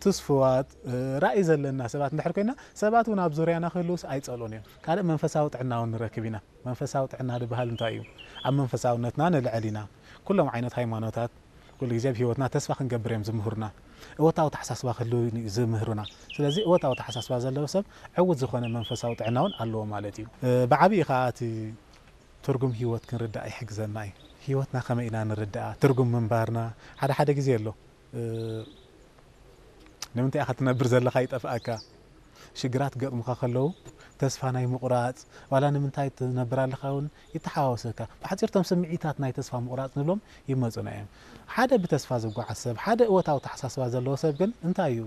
ትስፉዋት ራእይ ዘለና ሰባት እንድሕር ኮይና ሰባት እውን ኣብ ዙርያና ክህልውስ ኣይፀልኡን እዮም። ካልእ መንፈሳዊ ጥዕና እውን ንረክብ ኢና። መንፈሳዊ ጥዕና ዝበሃል እንታይ እዩ? ኣብ መንፈሳውነትና ንልዕል ኢና። ኩሎም ዓይነት ሃይማኖታት ኩሉ ግዜ ኣብ ህይወትና ተስፋ ክንገብር እዮም ዝምህሩና። እወታዊ ተሓሳስባ ክህሉ ዝምህሩና። ስለዚ እወታዊ ተሓሳስባ ዘለዎ ሰብ ዕውት ዝኾነ መንፈሳዊ ጥዕና እውን ኣለዎ ማለት እዩ። ብዓብዪ ከዓ እቲ ትርጉም ህይወት ክንርዳእ ይሕግዘና እዩ። ህይወትና ከመይ ኢና ንርዳኣ? ትርጉም ምንባርና ሓደ ሓደ ግዜ ኣሎ ንምንታይ ኢኻ ትነብር ዘለኻ ይጠፍኣካ። ሽግራት ገጥሙኻ ከለዉ ተስፋ ናይ ምቑራፅ ዋላ ንምንታይ ትነብር ኣለኻ እውን ይተሓዋወሰካ። ብሓፂርቶም ስምዒታት ናይ ተስፋ ምቑራፅ ንብሎም ይመፁና እዮም። ሓደ ብተስፋ ዝጓዓዝ ሰብ ሓደ እወታዊ ተሓሳስባ ዘለዎ ሰብ ግን እንታይ እዩ?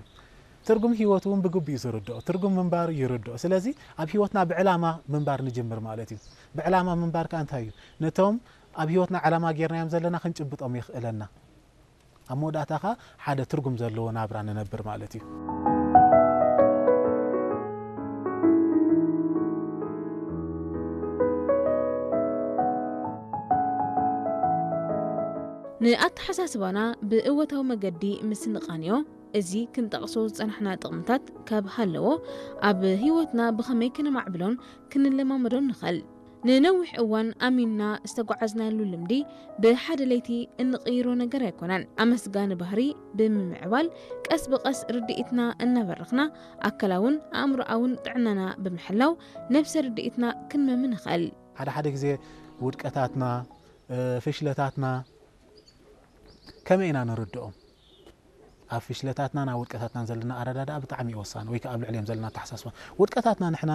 ትርጉም ህይወቱ እውን ብግቡእ እዩ ዝርድኦ። ትርጉም ምንባር ይርድኦ። ስለዚ ኣብ ህይወትና ብዕላማ ምንባር ንጅምር ማለት እዩ። ብዕላማ ምንባር ከ እንታይ እዩ? ነቶም ኣብ ህይወትና ዕላማ ጌርናዮም ዘለና ክንጭብጦም የኽእለና። ኣብ መወዳእታ ከ ሓደ ትርጉም ዘለዎ ናብራ ንነብር ማለት እዩ። ንኣተሓሳስባና ብእወታዊ መገዲ ምስ ንቃንዮ፣ እዚ ክንጠቕሶ ዝጸናሕና ጥቕምታት ካብ ሃለዎ፣ ኣብ ህይወትና ብኸመይ ከነማዕብሎን ክንለማመዶን ንኽእል? ንነዊሕ እዋን ኣሚንና ዝተጓዓዝናሉ ልምዲ ብሓደ ለይቲ እንቕይሮ ነገር ኣይኮነን። ኣመስጋኒ ባህሪ ብምምዕባል ቀስ ብቐስ ርድኢትና እናበረኽና ኣካላውን ኣእምሮኣውን ጥዕናና ብምሕላው ነብሰ ርድኢትና ክንመሚ ንኽእል። ሓደ ሓደ ግዜ ውድቀታትና፣ ፍሽለታትና ከመይ ኢና ንርድኦም? ኣብ ፍሽለታትናን ኣብ ውድቀታትናን ዘለና ኣረዳድኣ ብጣዕሚ እዩ ወሳኒ፣ ወይ ከዓ ኣብ ልዕሊኦም ዘለና ኣተሓሳስባ። ውድቀታትና ንሕና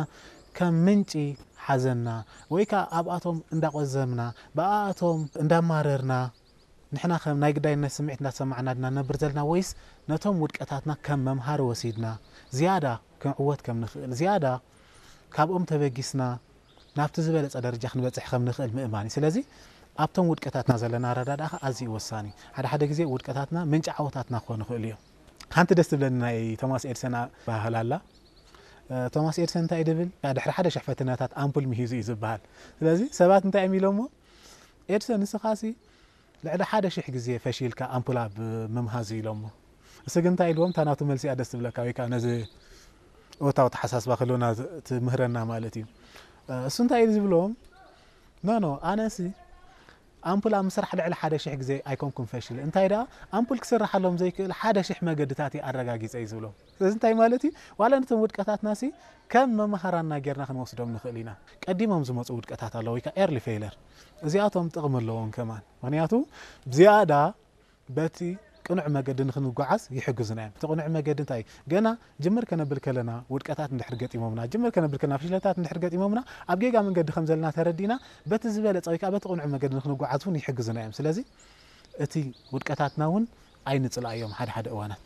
ከም ምንጪ ሓዘንና ወይ ከዓ ኣብኣቶም እንዳቆዘምና ብኣኣቶም እንዳማረርና ንሕና ከም ናይ ግዳይነት ስምዒት እንዳተሰማዕና ድና ነብር ዘለና ወይስ ነቶም ውድቀታትና ከም መምሃሪ ወሲድና ዝያዳ ክንዕወት ከም ንኽእል ዝያዳ ካብኦም ተበጊስና ናብቲ ዝበለጸ ደረጃ ክንበጽሕ ከም ንኽእል ምእማን እዩ። ስለዚ ኣብቶም ውድቀታትና ዘለና ኣረዳድኣ ከኣ ኣዝዩ ወሳኒ እዩ። ሓደ ሓደ ግዜ ውድቀታትና ምንጪ ዓወታትና ክኾኑ ይኽእሉ እዮም። ሓንቲ ደስ ትብለኒ ናይ ቶማስ ኤድሰን ኣበሃህላ ኣላ። ቶማስ ኤድሰን እንታይ ድብል? ድሕሪ ሓደ ሽሕ ፈተነታት ኣምፑል ምሂዙ እዩ ዝበሃል። ስለዚ ሰባት እንታይ እዮም ኢሎሞ? ኤድሰን ንስኻሲ ልዕሊ ሓደ ሽሕ ግዜ ፈሺልካ ኣምፑል ኣብ ምምሃዝ ኢሎሞ። እሱ ግን እንታይ ኢልዎም? እታ ናቱ መልሲ እያ ደስ ትብለካ ወይ ከዓ ነዚ እወታዊ ተሓሳስባ ክህልወና ትምህረና ማለት እዩ። እሱ እንታይ እዩ ዝብሎም? ኖ ኖ ኣነሲ ኣምፑል ኣብ ምስራሕ ልዕሊ ሓደ ሽሕ ግዜ ኣይኮንኩን ፈሽል። እንታይ ደኣ ኣምፑል ክስርሓሎም ዘይክእል ሓደ ሽሕ መገድታት እየ ኣረጋጊፀ እዩ ዝብሎም። ስለዚ እንታይ ማለት እዩ? ዋላ ነቶም ውድቀታትናሲ ከም መምሃራና ጌርና ክንወስዶም ንኽእል ኢና። ቀዲሞም ዝመፁ ውድቀታት ኣለዉ ወይ ከዓ ኤርሊ ፌይለር። እዚኣቶም ጥቕሚ ኣለዎም ከማን። ምኽንያቱ ዝያዳ በቲ ቅኑዕ መገዲ ንክንጓዓዝ ይሕግዙና እዮም። እቲ ቅኑዕ መገዲ እንታይ እዩ? ገና ጅምር ከነብል ከለና ውድቀታት እንድሕር ገጢሞምና፣ ጅምር ከነብል ከለና ፍሽለታት እንድሕር ገጢሞምና ኣብ ጌጋ መንገዲ ከም ዘለና ተረዲእና በቲ ዝበለፀ ወይ ከዓ በቲ ቅኑዕ መገዲ ንክንጓዓዝ እውን ይሕግዙና እዮም። ስለዚ እቲ ውድቀታትና እውን ኣይንፅላእዮም ሓደ ሓደ እዋናት።